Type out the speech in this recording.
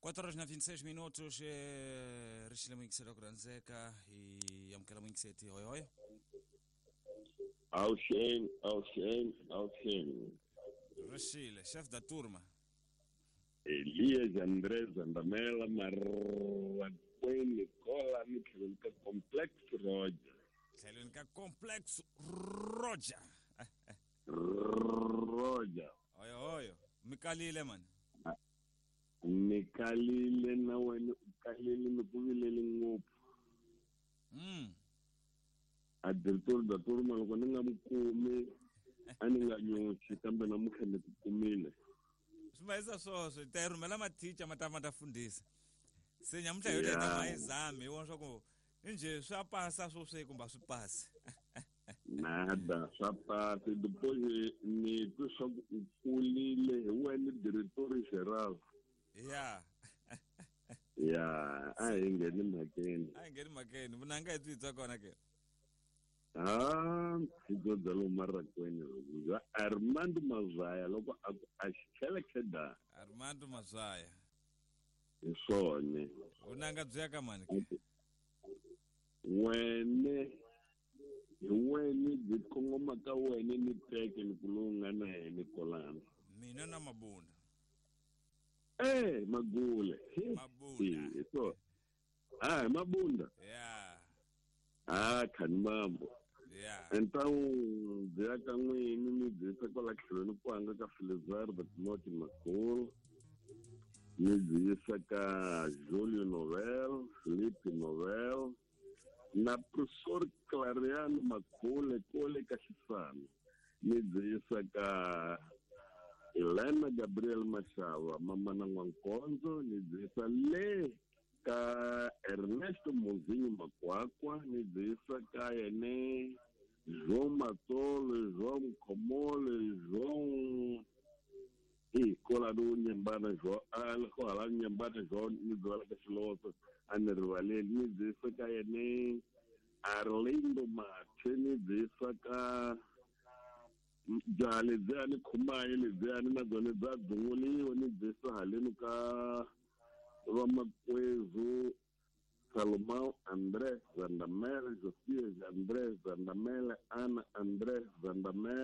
4 horas na 26 minutos ri xile muyingiseri wa ku rhandzeka hi amukela muyingiseti hoyohoyo. Awuxeni, awuxeni, awuxeni. Ri xile chef da turma. Elias André Zandamela Marrakweni kola ni tlhelweni ka Complex Roger. Tlhelweni ka Complex Roger. Roger. Hoyohoyo, mi kalile mani. Ni kalile na wena u kalile ni ku vileli ngopfu. A director da turma loko ni nga mi kumi a ni nga nyoxi kambe namuntlha ni ku kumile. Swi mahisa swoswo ta yi rhumela mathicha ma ta ma ta fundhisa. Se nyamuntlha hi ta ma yi zami hi vona swa ku njhe swa pasa swo swe kumbe a swi pasi. Nada swa pasi depois ni twi swa ku u kulile hi wena director general. Ya. Ya, a hi ngheni mhakeni. A hi ngheni mhakeni, vunanga hi byi twa kona ke. Ha, hi byo bya lomu Marakweni bya Armando Mazaya loko a ku a xikhelekhe da. Armando Mazaya. Hi swona. Vunanga byi ya ka mani ke? Wene hi wene byi kongoma ka wene ni teke ni ku lowu nga na yena kolana. Mina na Mabunda. Magule. Mabunda. Hi so. Ah, Mabunda. Yeah. Ah, khani mambo. Yeah. Então, byi ya ka n'wini mi byi yisa kwala tlhelweni ku hanga ka Felizardo Timothy Makulu. Mi byi yisa ka Julio Novel, Felipe Novel na Professor Clariano Makhule kole ka Xisana. Mi byi yisa ka Elena Gabriel Mashava, mama na N'wankonzo, ni byi yisa le ka Ernesto Mozinho Makwakwa, ni byi yisa ka yene João Matsolo, João Mkhomole, João kola do Nyembana João, ko hala Nyembana João, ni byi ka Xiloso, a ni rivaleli, ni byi yisa ka yene Arlindo Mathe, ni byi yisa ka bya lebyiya ni khumayi lebyiya ni na byona bya dzunguliwa, ni byi yisa haleni ka vamakwezu Salomão André Zandamela, Josias André Zandamela, Ana André Zandamela.